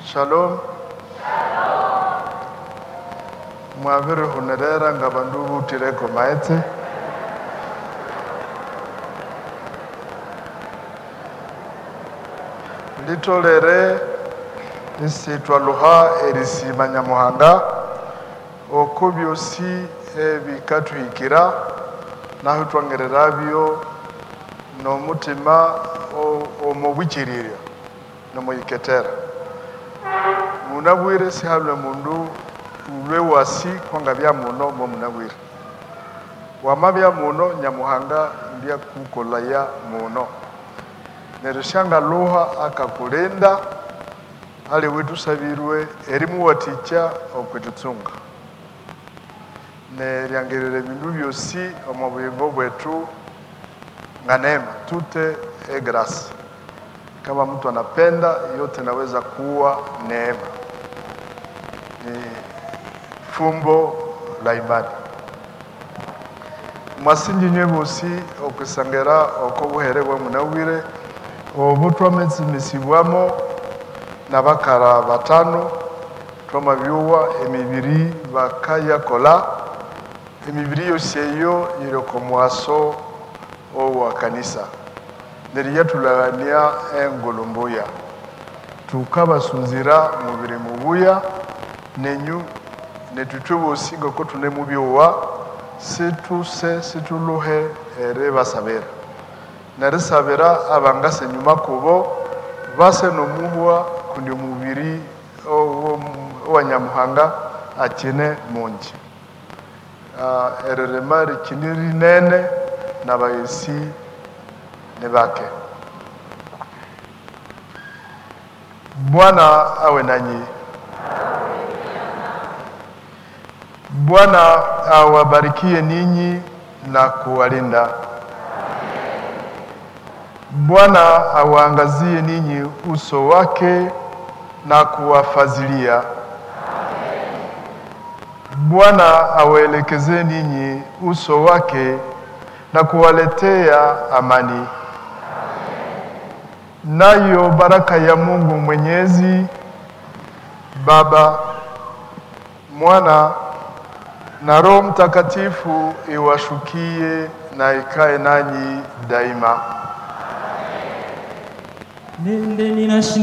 Shalom. Mwabirihunerera nga bandu butireko maetse. Litolere isitwaluha erisima Nyamuhanga oko byosi ebikathuhikira nahu twangererabyo n'omutima omubwikirirya nomuyiketera. Munabwire sihalwe mundu ulwe wasi kwanga bya muno mwe munabwire. Wamabya muno Nyamuhanga mbyakukolaya muno. Neryo syangaluha akakulinda ali witusabirwe erimuwatikya okwitutsunga. Neryangerera ebindu byosi omu buyingo bwetu nga neema, tute e grâce. Kama mtu anapenda yote naweza kuwa neema. Ni fumbo la imani. Mwasinji nywe bosi okwisangera okobuhere bwa munabwire obu twametsimesibwamo nabakara batano twamabyuwa emibiri bakayakola emibiri yose eyo iri okomwaso owa kanisa neryo yatulagania engulu mbuya tukabasunzira mubiri mubuya nenyu netutwe bosi ngoko tune mubyowa situse situluhe ere basabira nerisabira abangase nyuma kubo base nomuhwa kundi omubiri owa Nyamuhanga akine mungi. Ererema rikini rinene n'abayesi ne bake. Bwana awe nanyi. Bwana awabarikie ninyi na kuwalinda. Bwana awaangazie ninyi uso wake na kuwafazilia. Bwana awaelekeze ninyi uso wake na kuwaletea amani. Nayo baraka ya Mungu Mwenyezi, Baba, Mwana na Roho Mtakatifu iwashukie na ikae nanyi daima. Nende ninashinda.